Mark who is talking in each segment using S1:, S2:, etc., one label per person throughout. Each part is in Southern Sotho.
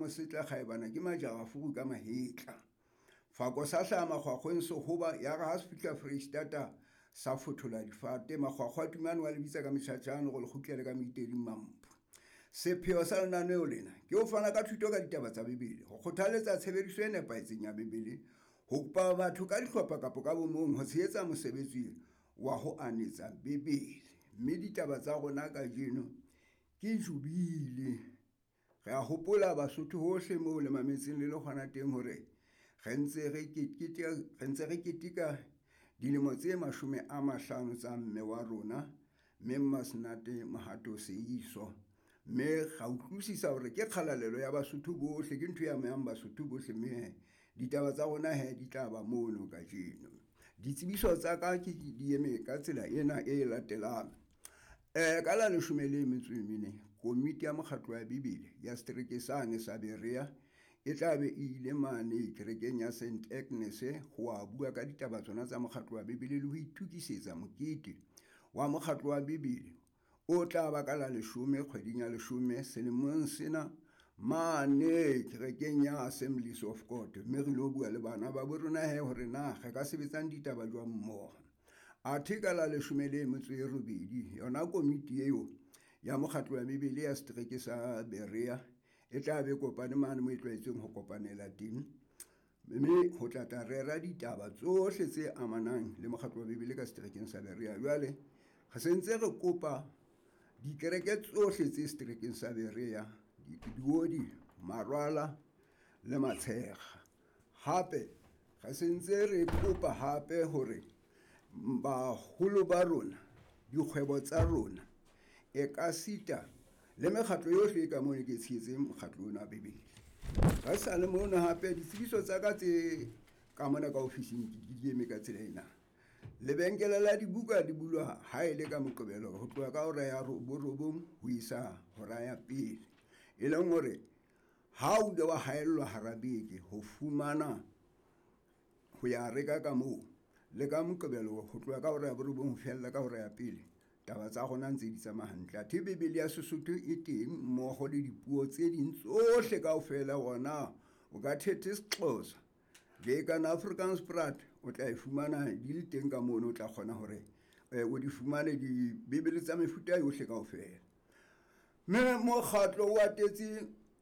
S1: Mosetla kgaebana ke majara furu ka mahetla. Fako sa hlaha makgwakgweng sehoba ya re ha se fihla Foreisetata sa fothola difate. Makgwakgwa a tumane wa le bitsa ka metjhatjhane gore le kgutlele ka moiteding mamphu. Sepheo sa lenaneo lena ke ho fana ka thuto ka ditaba tsa Bibele, ho kgothaletsa tshebediso e nepahetseng ya Bibele, ho kopa batho ka dihlopha kapa ka bomong ho tshehetsa mosebetsi wa ho anetsa Bibele. Mme ditaba tsa rona kajeno ke jubile. Re a hopola Basotho hohle moo le mametseng le le hona teng hore re ntse re keteka dilemo tse 50 tsa mme wa rona, mme Mmasenate Mohato Seiso. Mme ra utlwisisa hore ke kgalalelo ya Basotho bohle, ke ntho e amehang Basotho bohle, mme ditaba tsa rona he di tla ba mono kajeno. Ditsebiso tsa ka ke di eme ka tsela ena e latelang. Ka la 14, komiti ya mokgatlo wa Bibele ya setereke sane sa Berea e tla be e ile mane kerekeng ya St Agnes ho a bua ka ditaba tsona tsa mokgatlo wa Bibele le ho itukisetsa mokete wa mokgatlo wa Bibele o tla ba ka la 10 kgweding ya 10 selemong sena mane kerekeng ya Assemblies of God. Mme re lo bua le bana ba bo rona he hore na re ka sebetsang ditaba jwang mmoho. Athe ka la 18 yona komiti eo ya mokgatlo wa Bibele ya setereke sa Berea e tla be kopane mane mo e tlwaetseng ho kopanela teng, mme ho tla tla rera ditaba tsohle tse amanang le mokgatlo wa Bibele ka seterekeng sa Berea. Jwale re sentse re kopa dikereke tsohle tse seterekeng sa Berea, diodi, marwala le matshega. Hape re sentse re kopa hape hore baholo ba rona, dikgwebo tsa rona, e ka sita le mekgatlo yohle e ka mono ke tshehetseng mokgatlo ona wa Bibele. Re sa le mono hape ditsebiso tsa ka tse ka mona ka ofising di eme ka tsela ena. Lebenkele la dibuka di bulwa ha e le ka Moqebelo ho tloha ka hora ya 9 ho isa hora ya 1, e leng hore ha o ile wa haellwa hara beke ho fumana ho ya reka ka moo, le ka Moqebelo ho tloha ka hora ya 9 ho fella ka hora ya 1, taba tsa rona ntse di tsamaya hantle. Athe Bibele ya Sesotho e teng mmoho le dipuo tse ding tsohle kaofela. Hona o ka thethe Sexhosa le kana Afrikaans Praat, o tla e fumana di le teng ka mono, o tla kgona hore o di fumane dibibele tsa mefuta yohle kaofela. Mme mokgatlo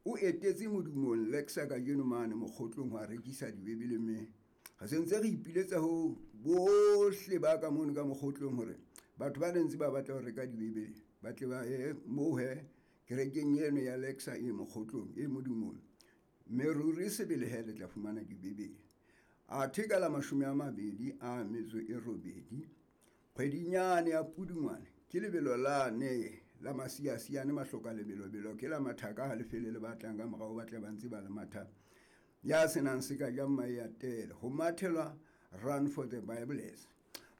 S1: o etetse modumong Lexa kajeno mane mokgotlong ho a rekisa dibibele, mme re sentse re ipiletsa ho bohle ba ka mono ka mokgotlong hore batho ba ntse ba batla ho reka dibibele ba tle ba ye moo he kerekeng eno ya Lexa e mokgotlong e modumong, mme ruri sebele he le tla fumana dibibele. Athe ka la 28 kgwedinyane ya Pudungwane ke lebelo lane la masiasiane mahloka lebelobelo ke la mathaka ha lefele le batlang ka morao ba tle ba ntse ba le matha ya senang se ka jang mae a tele ho mathelwa Run for the Bibles.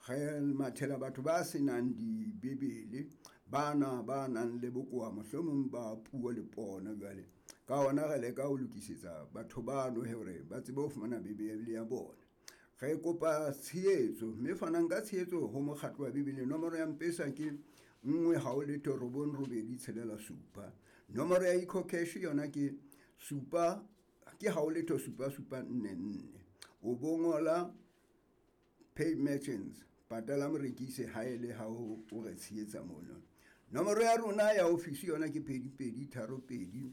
S1: Re mathela batho ba senang dibibele, bana ba nang le bokowa mohlomong ba puo le pono. Jwale ka hona re leka ho lokisetsa batho bano hore ba tsebe ho fumana Bibele ya bona. Re kopa tshehetso, mme fanang ka tshehetso ho mokgatlo wa Bibele. Nomoro ya Mpesa ke 1 0 0 9 8 6 7. Nomoro ya EcoCash yona ke 7 ke 0 0 7 7 4 4. O bongola Pay Merchants, patala morekisi ha e le ha o re tshehetsa mono. Nomoro ya rona ya ofisi yona ke 2 2 3 2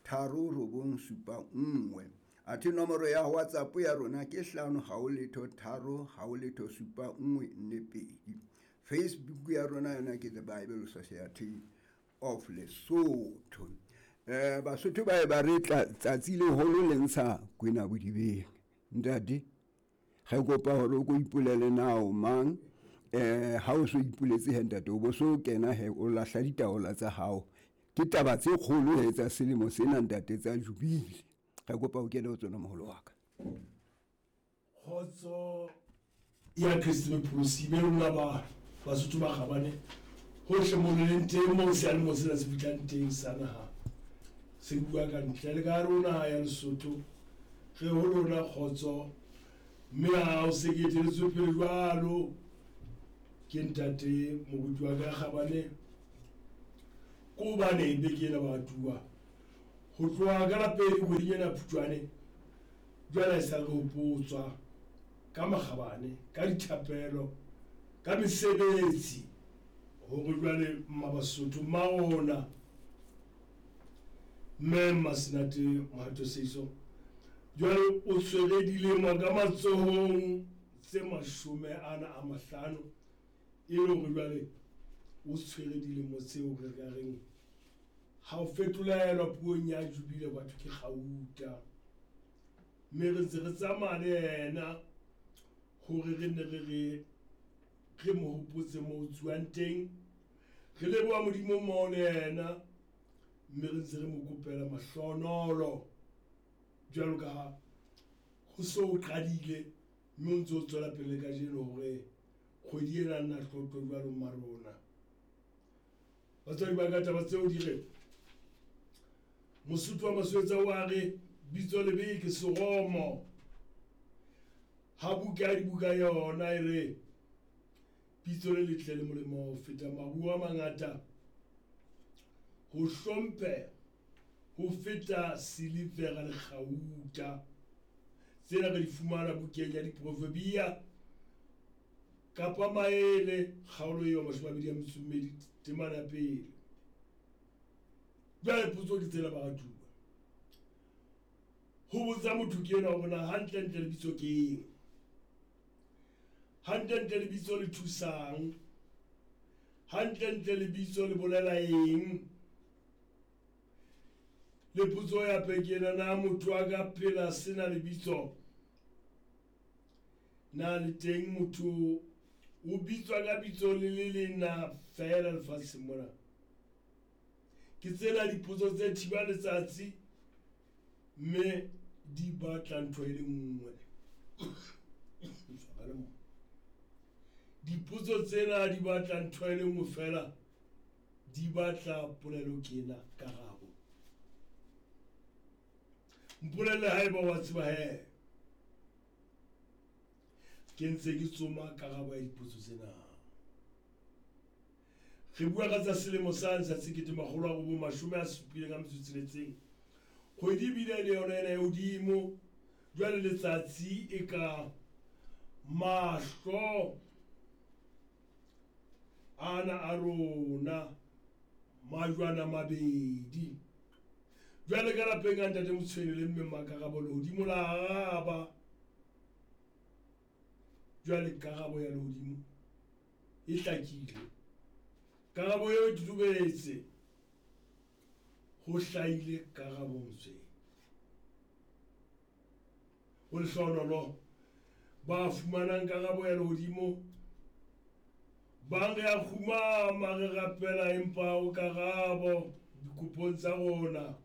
S1: 3 9 7 1. Athe nomoro ya WhatsApp ya rona ke 5 0 0 3 0 0 7 1 4 2. Facebook ya rona yona ke The Bible Society of Lesotho. Basotho ba e ba re tsatsi leholo le ntsha kwena bodibeng. Ntate, re kopa hore o ko ipolele na o mang, ha o so ipoletse he ntate, o bo so kena he o lahla ditaola tsa hao. Ke taba tse kgolo he tsa selemo sena ntate tsa jubile. Re kopa o kene ho tsona moholo wa ka.
S2: Kgotso ya Kriste Mopholosi be lona ba Basotho ba kgabane hohle mo le leng teng, moo seyalemoya sena se fihlang teng sa naha se bua ka ntle le ka hare ho naha ya Lesotho. Re ho lona kgotso, mme ha o se ke eteletswe pele jwalo ke ntate moruti wa ka kgabane, ko hobane beke ena baratuwa Ho tloha ka la pele kgweding ena ya Phupjane, jwale ha esale re hopotswa ka makgabane, ka dithapelo, ka mesebetsi hore jwale Mma Basotho, mma rona, Mme Mmasenate Mohato Seiso, jwale o tshwere dilemo ka matsohong tse 50, e le hore jwale o tshwere dilemo tseo re ka reng ha o fetolelwa puong ya jubile batho ke kgauta. Mme re ntse re tsamaya le yena hore re nne re re re mo hopotse mo o tsuwang teng. Re leboha Modimo mmoho le yena, mme re ntse re mo kopela mahlonolo jwalo ka ha ho so o qadile, mme o ntse o tswela pele le kajeno hore kgwedi ena nna tlotlo jwalo mma rona. Batswadi ba ka, taba tseo di re Mosotho wa Maswetsa o a re bitso lebe ke seromo. Ha buka ya dibuka yona e re bitso le letle le molemo ho feta maruo a mangata, ho hlompheha ho feta silivera le kgauta. Tsena re di fumana bukeng ya Diproverbia kapa Maele kgaolo eo 22 temana ya pele. Jwale potso ke tsena baratuwa. Ho botsa motho ke enwa hore na hantlentle lebitso ke eng? Hantlentle lebitso le thusang? Hantlentle lebitso le bolela eng? Le potso ya pe ke ena, na motho a ka phela sena lebitso? Na le teng motho o bitswa ka bitso le le leng na feela lefatsheng mona? Ke tsena dipotso tse thiba letsatsi, mme di batla ntho e le nngwe. Dipotso tsena di batla ntho e le nngwe feela, di batla polelo ke ena karabo. Mpolelle haeba wa tseba he. Ke ntse ke tsoma karabo ya dipotso tsena. Re bua ka tsa selemo sane sa 1976. Kgwedi ebile le yona ena e hodimo, jwale letsatsi e ka mahlo ana a rona majwana mabedi. Jwale ka lapeng a ntate Motshweni le mme Mmakarabo lehodimo la araba. Jwale karabo ya lehodimo e hlakile. Karabo eo e totobetse. Ho hlahile karabo Motshweni. Ho lehlohonolo ba fumanang karabo ya lehodimo, bang re a kgumama re rapela empa o karabo dikopong tsa rona.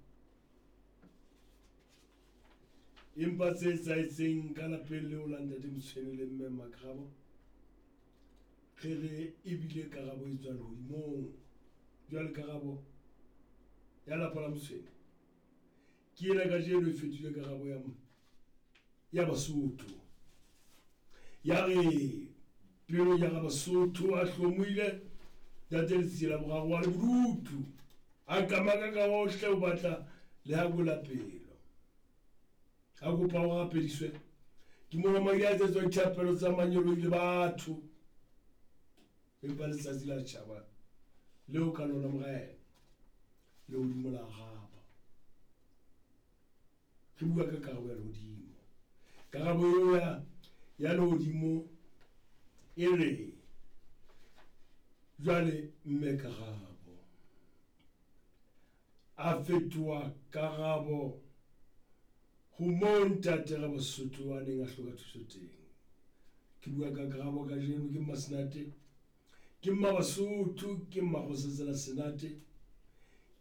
S2: Empa tse etsahetseng ka lapeng leo la ntate Motshweni le mme Mmakarabo, re re ebile karabo e tswa lehodimong. Jwale karabo ya lapa la Motshweni ke ena kajeno e fetohile karabo ya Basotho. Ya re pelo ya ga Basotho a hlomohile ntate Letsie la boraro wa le bodutu, a qamaka ka hohle o batla le ha bola pelo. A kopa ho rapediswe ke mona madi a etsetswa dithapelo tsa manyeloi le batho. Empa letsatsi la tjhaba leo ka lona morena lehodimo la araba. Re bua ka karabo ya lehodimo. Karabo eo ya lehodimo e re jwale mme Karabo a fetoha karabo ho moo ntate Rabasotho a neng a hloka thuso teng. Ke bua ka karabo kajeno ke Mmasenate, ke Mmabasotho, ke Mmakgosatsana Senate,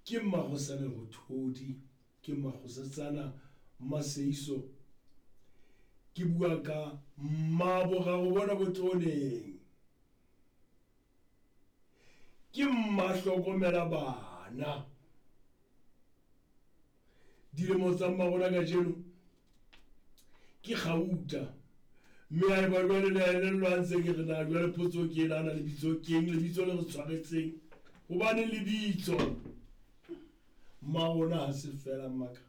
S2: ke Mmakgosana Lerothodi, ke Mmakgosatsana Mmaseiso. Ke bua ka mmaboraro bona bo teroneng. Ke mmahlokomela bana. Dilemo tsa mmarona kajeno ke kgauta. Mme ha eba jwale le a elellwa ntse ke re na jwale potso ke ena, na lebitso keng, lebitso le re tshwaretseng. Hobane lebitso. Mma rona ha se fela mmaka.